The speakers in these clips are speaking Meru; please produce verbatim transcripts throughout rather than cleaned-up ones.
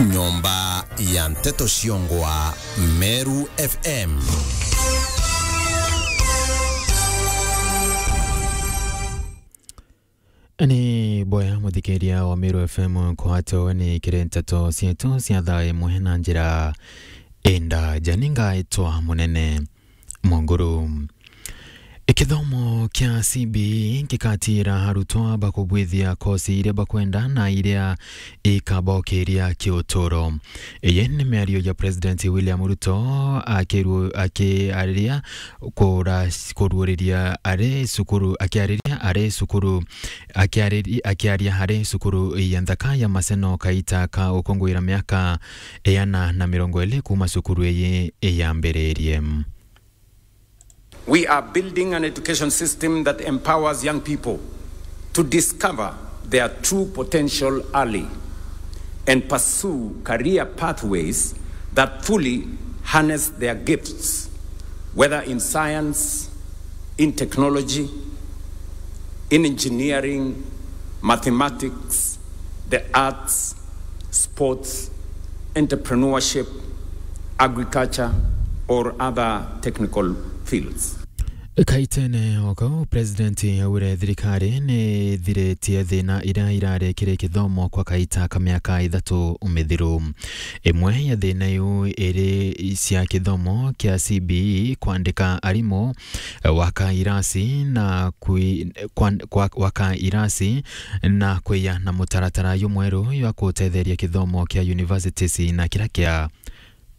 Nyomba ya nteto ciongwa Meru F M. Ni boya muthikiria wa Meru F M kwatwo ni kiri nteto cietu cia thaa imwe na njira indaja. Ni ngaitwa Munene Munguru. Kithomo kia C B E gikatira arutwa bakubwithia kosi iria bakwenda na iria ikabokiria kiuturo. Iyi ni miario ya President William Ruto akiru-, akiariria kura-, kuruuriria ari cukuru, akiariria ari cukuru, akiariri-, akiaria ari cukuru ya nthaka ya Maseno kaita ka gukunguira miaka iana na mirongo iri kuuma cukuru iyi yambiririe. We are building an education system that empowers young people to discover their true potential early and pursue career pathways that fully harness their gifts, whether in science, in technology, in engineering, mathematics, the arts, sports, entrepreneurship, agriculture, or other technical fields. Kaitene o kau, President augire thirikari ni ithiritie thina iria irari kiri kithomo kwa kaita ka miaka ithatu mithiru. Imwe ya thina iu iri cia kithomo kia C B E, kwandika arimu, gwaka irasi na kwi-, kwan-, kwa-, gwaka irasi na kwiya na mutaratara jumweru jwa gutetheria kithomo kia universities na kiria kia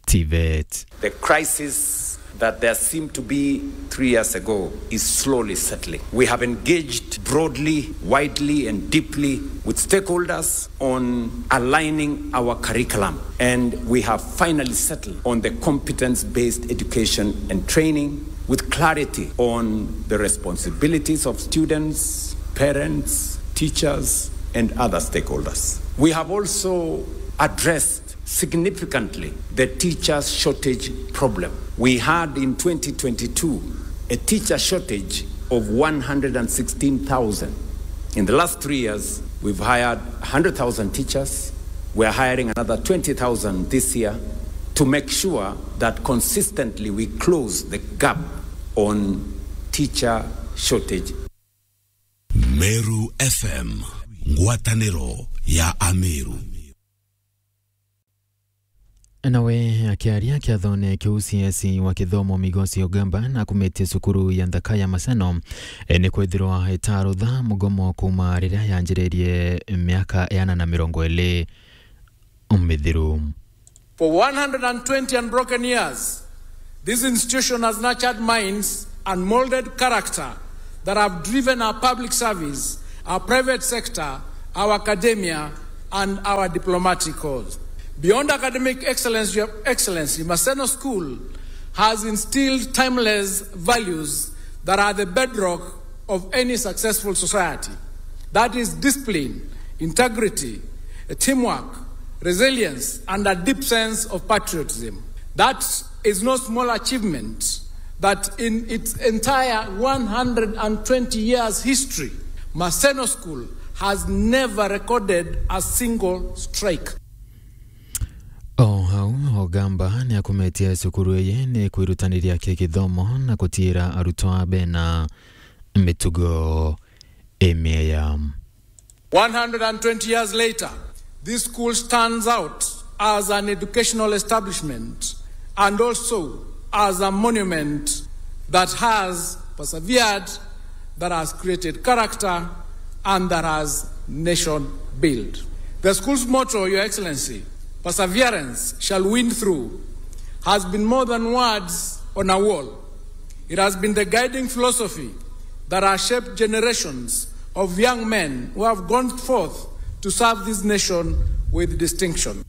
TVET. The crisis that there seemed to be three years ago is slowly settling. We have engaged broadly, widely, and deeply with stakeholders on aligning our curriculum, and we have finally settled on the competence-based education and training with clarity on the responsibilities of students, parents, teachers, and other stakeholders. We have also addressed significantly the teacher shortage problem. We had in twenty twenty-two a teacher shortage of one hundred and sixteen thousand. In the last three years, we've hired a hundred thousand teachers. We are hiring another twenty thousand this year to make sure that consistently we close the gap on teacher shortage. Meru F M, ngwataniro ya Ameru. Nawe akiaria kiathone kiu, C S wa kithomo Migosi Ogamba nakumitie cukuru ya nthaka ya Maseno, e, ni kwithirwa itarutha mugomo kuuma riria yanjiririe miaka iana na mirongo iri mithiru. For one hundred and twenty unbroken years, this institution has nurtured minds and molded character that have driven our public service, our private sector, our academia, and our diplomatic corps. Beyond academic excellence, Your Excellency, Maseno School has instilled timeless values that are the bedrock of any successful society. That is discipline, integrity, teamwork, resilience, and a deep sense of patriotism. That is no small achievement that in its entire one hundred and twenty years history, Maseno School has never recorded a single strike. O hau, Ogamba ni akumetie cukuru iyi ni kwirutaniria ki githomo na gutiira arutwa bena mitugo imieya. One hundred and twenty years later, this school stands out as an educational establishment and also as a monument that has persevered, that has created character, and that has nation built. The school's motto, Your Excellency, "Perseverance shall win through," has been more than words on a wall. It has been the guiding philosophy that has shaped generations of young men who have gone forth to serve this nation with distinction.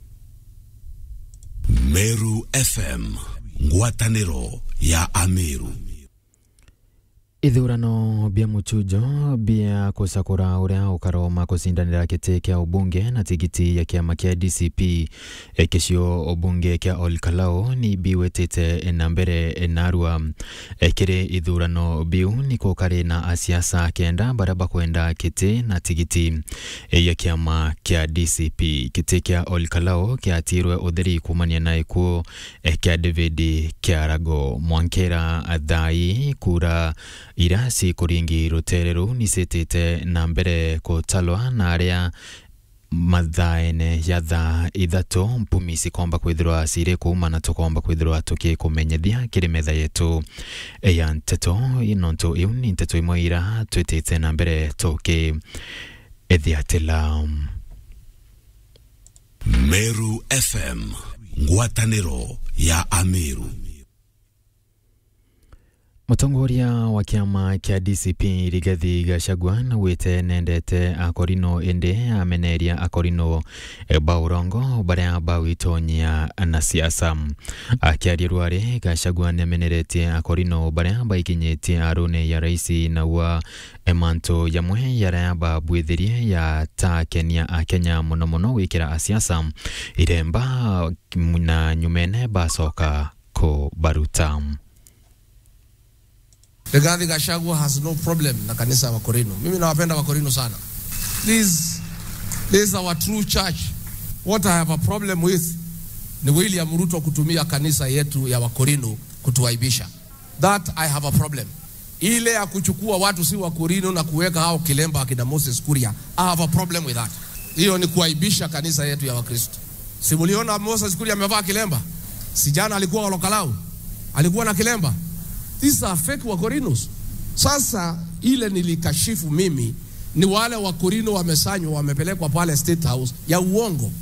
Meru F M, ngwataniro ya Ameru. Ithurano bia muchujo bia kucakura uria ukaroma kucindanira giti kia ubunge na tigiti ya kiama kia D C P, e, kicio ubunge kia Ol Kalou ni biwitite na mbere narua. E, kiri ithurano biu ni kukari na asiasa kenda baria bakwenda giti na tigiti, e, ya kiama kia D C P. Giti kia Ol Kalou kiatirwe utheri kumania na gikuu, e, kia David Kiarago. Mwankira thaa ii kura iria cikuringi rutere ruu ni citite na mbere kutalwa, na aria mathaene ja thaa ithatu mpumi cikomba kwithirwa ciri kuuma na tukomba kwithirwa tukikumenyithia kiri metha yetu ya nteto. Nontu iu ni nteto imwe iria twitite na mbere tukimethithiatila. Meru F M, ngwataniro ya Ameru. Mutongoria wa kiama kia D C P Rigathi Gachagua naugite nendete Akorino, indi ameneria Akorino, e, ba urongo baria bagwitonyia na siasa. Akiaria rwari, Gachagua niameneretie Akorino baria baikinyitie aruni ya raisi, naua, e, mantu jamwe jaria babwithirie jatakenia Akenya, mono mono gwikira asiasa iremba na nyumene bacoka kubaruta. Rigathi Gachagua has no problem na kanisa ya Wakorino. Mimi nawapenda Wakorino sana. This, this is our true church. What I have a problem with ni William Ruto kutumia kanisa yetu ya Wakorino kutuaibisha. That I have a problem. Ile ya kuchukua watu si Wakorino na kuweka hao kilemba akina Moses Kuria, I have a problem with that. Hiyo ni kuaibisha kanisa yetu ya Wakristo. Si muliona Moses Kuria amevaa kilemba? Si jana alikuwa Ol Kalou? Alikuwa na kilemba? These are fake Wakorinos. Sasa ile nilikashifu mimi ni wale Wakorino wamesanywa, wamepelekwa pale State House ya uongo.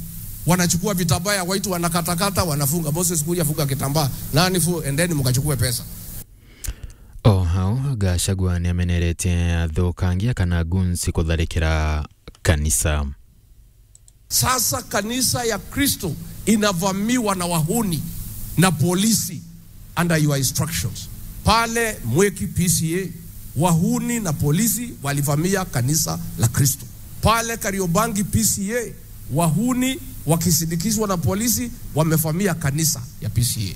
Wanachukua vitambaa ya white, wanakatakata, wanafunga. Moses Kuria, funga kitambaa. Nani fu-, endeni mkachukue pesa. O hau, Gachagua niameneretie athukangia kana goons kutharikira kanisa. Sasa kanisa ya Kristo inavamiwa na wahuni na polisi under your instructions. Pale Mweki P C A, wahuni na polisi walivamia kanisa la Kristo. Pale Kariobangi P C A, wahuni wakisindikizwa na polisi wamevamia kanisa ya P C A.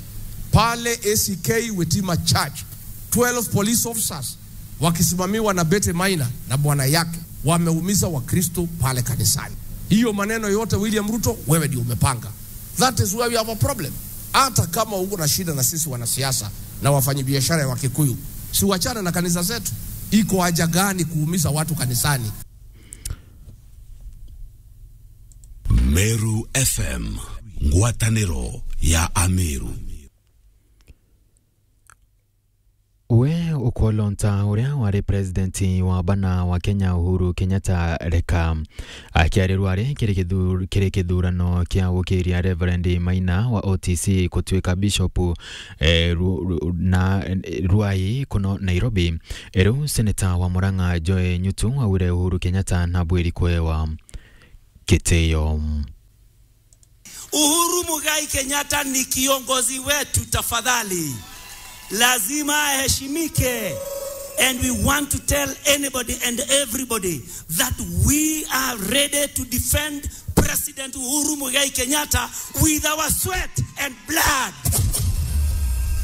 Pale A C K Witima Church, twelve police officers wakisimamiwa na Betty Maina na bwana yake wameumiza Wakristo pale kanisani. Hiyo maneno yote, William Ruto, wewe ndio umepanga. That is where we have a problem. Hata kama uko na shida na sisi wanasiasa na wafanyabiashara ya Wakikuyu, si wachane na kanisa zetu. Iko haja gani kuumiza watu kanisani? Meru F M, ngwataniro ya Ameru. We ukolonta uria wari president wa bana wa Kenya Uhuru Kenyatta reka akiarirwa ari kiri kithu-, kiri kithurano kia gukiria Reverend Maina wa O T C kutuika bishop, eh, ru-, ru-, na, eh, Ruai kuno Nairobi. Riu seneta wa Murang'a Joy Nyutu augire Uhuru Kenyatta nabwiri kuewa kitio. Uhuru Muigai Kenyatta ni kiongozi wetu, tafadhali. Lazima aheshimike. And we want to tell anybody and everybody that we are ready to defend President Uhuru Muigai Kenyatta with our sweat and blood.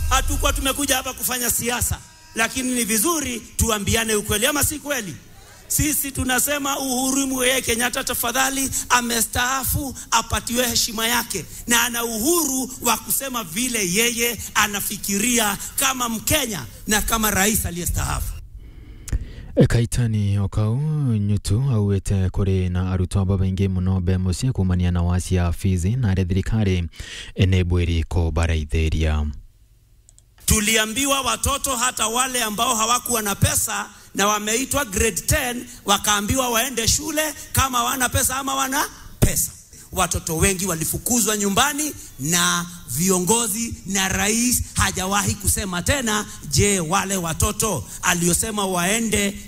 Hatukuwa tumekuja hapa kufanya siasa. Lakini ni vizuri tuambiane ukweli, ama si kweli? Sisi tunasema Uhuru Muigai Kenyatta, tafadhali, amestaafu, apatiwe heshima yake, na ana uhuru wa kusema vile yeye anafikiria kama Mkenya na kama rais aliyestaafu. Kaitani o kau, Nyutu augite kuri na arutwa babaingi mono be mucii kuumania na wacia fees, na aria thirikari ni bwiri kubaraithiria. Tuliambiwa watoto, hata wale ambao hawakuwa na pesa na wameitwa grade ten, wakaambiwa waende shule kama wana pesa ama wana pesa. Watoto wengi walifukuzwa nyumbani na viongozi, na rais hajawahi kusema tena, je, wale watoto aliosema waende